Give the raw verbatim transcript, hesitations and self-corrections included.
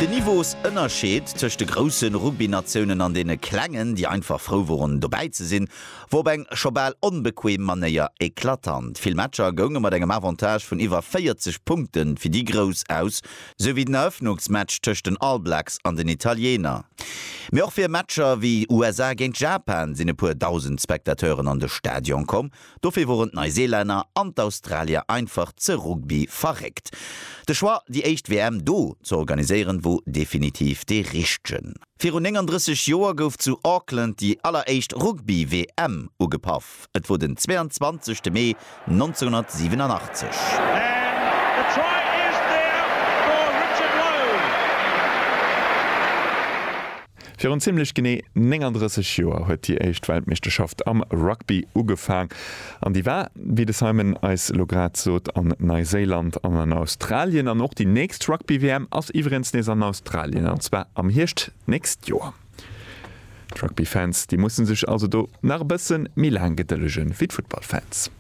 Den Niveausënnerscheed tëscht de grousse Rugby-Natiounen an deene klengen, déi einfach frou woren dobäi ze sinn, wor op eng scho bal onbequem Manéier eklatant. Vill Matcher gounge mat engem Avantage vun iwwer véierzeg Punkte fir déi Grouss aus, sou wéi den Erëffnungsmatch tëscht den All Blacks an den Italiener. Mee och fir Matcher wéi U S A géint Japan sinn e puer dausend Spectateuren an de Stadion komm. Dofir woren d'Neiseelänner an d'Australier einfach ze Rugby verréckt. De Choix, déi éischt W M do ze organiséieren, wor definitiv dee richtegen. Virun nénganddrësseg Joer gouf zu Auckland déi alleréischt Rugby-W M ugepaff. Et wor den zweeanzwanzegste Mee nonzénhunnertsiwenanachtzeg. And the try is there for Richard Loe. Virun zimmlech genee nénganddrësseg Joer huet déi éischt Weltmeeschterschaft am Rugby ugefaang. An déi war, wéi de Simon eis elo grad sot, an Neuseeland an an Australien. An och déi nächst Rugby-W M ass iwwregens nees an Australien, an zwar am Hierscht d'nächst Joer. D'Rugby-Fans, déi musse sech also do nach e bësse méi laang gedëllegen wéi d'Futtballfans.